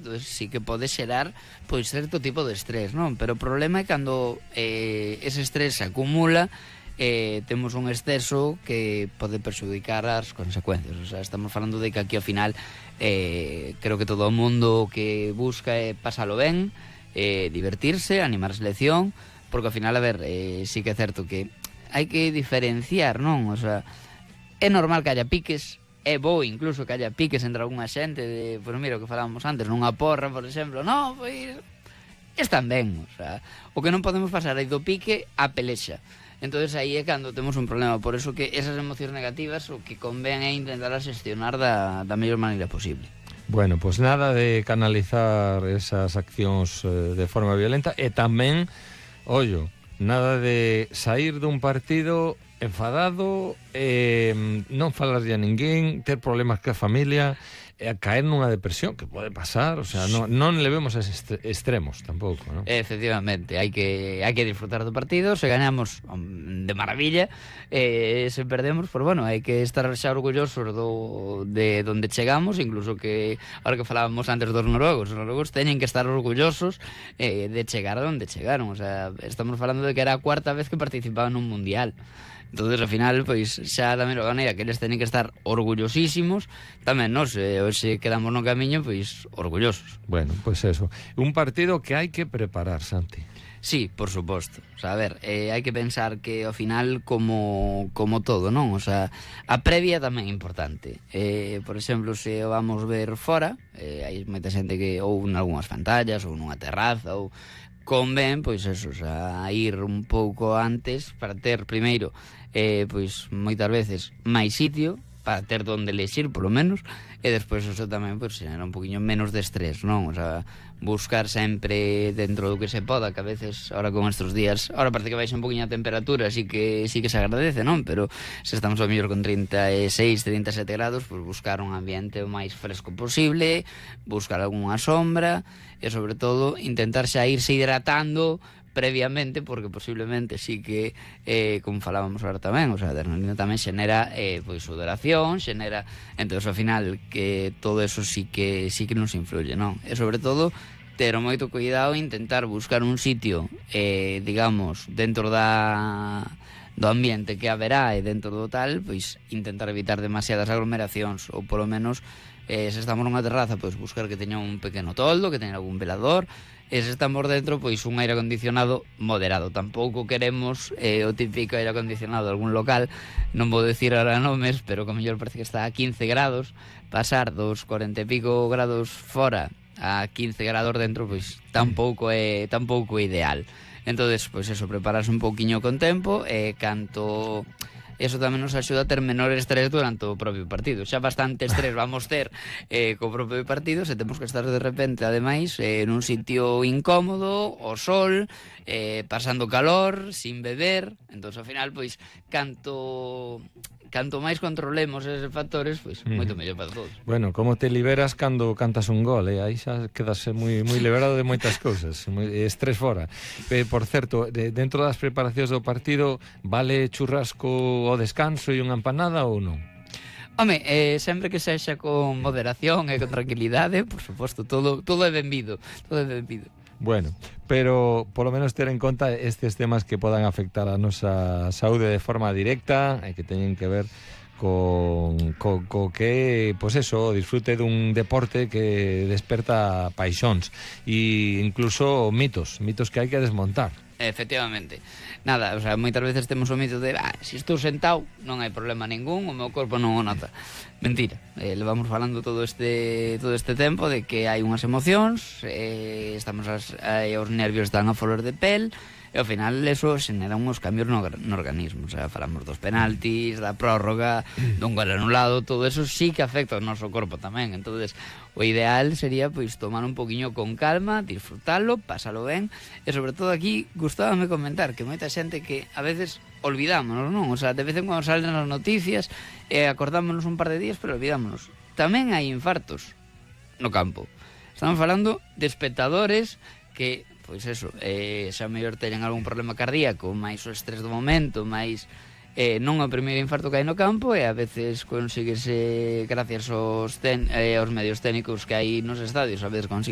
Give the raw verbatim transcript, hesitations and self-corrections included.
entonces sí que pode xerar pois certo tipo de estrés, non? Pero o problema é cando eh, ese estrés se acumula, eh, temos un exceso que pode perxudicar as consecuencias. O sea, estamos falando de que aquí ao final eh, creo que todo o mundo que busca é pasalo ben, eh, divertirse, animar a selección, porque ao final, a ver, eh, sí que é certo que hai que diferenciar, non? O sea, é normal que haya piques, é bo incluso que haya piques entre algunha xente de, pois mira, o que falábamos antes, nunha porra, por exemplo, non, pois están ben, o sea, o que non podemos pasar aí do pique á pelexa. Entonces aí é cando temos un problema, por eso que esas emocións negativas o que convén é intentar xestionar da, da mellor maneira posible. Bueno, pois pues nada de canalizar esas accións eh, de forma violenta e tamén, ollo, nada de sair dun partido enfadado, eh, non falarlle a ninguén, ter problemas ca familia, e a caer nunha depresión, que pode pasar, o sea, non, non levemos a esos extremos tampouco, non? Efectivamente, hai que hai que disfrutar do partido, se ganamos de maravilla, eh, se perdemos, pues bueno, hai que estar xa orgullosos do, de donde chegamos, incluso que, ahora que falábamos antes dos noruegos, os noruegos teñen que estar orgullosos eh, de chegar a donde chegaron, o sea, estamos falando de que era a cuarta vez que participaban nun mundial. Entonces, ao final, pois, xa da mesma maneira que eles teñen que estar orgullosísimos, tamén nos, eh, hoxe quedamos no camiño, pois, orgullosos. Bueno, pois eso. Un partido que hai que preparar, Santi. Sí, por suposto. O sea, a ver, eh, hai que pensar que ao final como como todo, non? O sea, a previa tamén é importante. Eh, por exemplo, se o vamos ver fora, eh, hai moita xente que ou en algunhas pantallas ou nunha terraza ou convén, pois eso, o sea, ir un pouco antes para ter primeiro eh, pois moitas veces máis sitio para ter donde lexir, polo menos, e despois eso tamén pois xera un poquinho menos de estrés, non? O sea, buscar sempre dentro do que se poda, que a veces ahora con estes días, ahora parece que baixa un poquinho a temperatura, así que sí que se agradece, non? Pero se estamos ao mellor con trinta e seis, trinta e sete grados, pois buscar un ambiente o máis fresco posible, buscar algunha sombra e sobre todo intentar xa irse hidratando previamente, porque posiblemente sí que eh, como falábamos ahora tamén, o sea, a adrenalina tamén xenera eh, pois sudoración, xenera, entonces ao final que todo eso sí que sí que nos influye, non? E sobre todo ter moito cuidado e intentar buscar un sitio eh, digamos, dentro da do ambiente que haberá e dentro do tal, pois intentar evitar demasiadas aglomeracións ou polo menos eh, se estamos nunha terraza, pois buscar que teña un pequeno toldo, que teña algún velador. E se estamos dentro, pois un aire acondicionado moderado. Tampouco queremos eh, o típico aire acondicionado de algún local, non vou decir ahora nomes, pero que mellor parece que está a quince grados, pasar dos cuarenta e pico grados fora a quince grados dentro, pois tampouco é tampouco é ideal. Entonces, pois eso, prepararse un pouquiño con tempo e canto eso tamén nos axuda a ter menor estrés durante o propio partido. Xa bastante estrés vamos ter eh, co propio partido, se temos que estar de repente, ademais, eh, nun sitio incómodo, o sol, eh, pasando calor, sin beber. Entón, ao final, pois, canto canto máis controlemos eses factores, pois, mm. moito mellor para todos. Bueno, como te liberas cando cantas un gol, eh? Aí xa quedas moi moi liberado de moitas cousas, moi, estrés fora. Eh, por certo, de, dentro das preparacións do partido, vale churrasco ao descanso e unha empanada ou non? Home, eh, sempre que sexa con moderación e con tranquilidade, por suposto, todo, todo é benvido, todo é benvido. Bueno, pero polo menos ter en conta estes temas que podan afectar a nosa saúde de forma directa e que teñen que ver con, co, co que, pois eso, disfrute dun deporte que desperta paixóns e incluso mitos, mitos que hai que desmontar. Efectivamente. Nada, o sea, moitas veces temos o mito de ah, se estou sentado non hai problema ningún, o meu corpo non o nota. Mentira, eh, levamos falando todo este todo este tempo de que hai unhas emocións, eh, estamos as, eh, os nervios están a flor de pel, e ao final eso xenera uns cambios no, no organismo. O sea, falamos dos penaltis, da prórroga, dun gol anulado, todo eso sí que afecta ao noso corpo tamén. Entonces, o ideal sería pois tomar un poquinho con calma, disfrutalo, pásalo ben, e sobre todo aquí gustábame comentar que moita xente que a veces olvidámonos, non? O sea, de vez en cuando salen as noticias e acordámonos un par de días, pero olvidámonos. Tamén hai infartos no campo. Estamos falando de espectadores que pois eso, eh, xa mellor teñen algún problema cardíaco, máis o estrés do momento, máis eh, non o primeiro infarto que hai no campo, e a veces consíguese gracias aos, ten, eh, aos medios técnicos que hai nos estadios, a veces consigue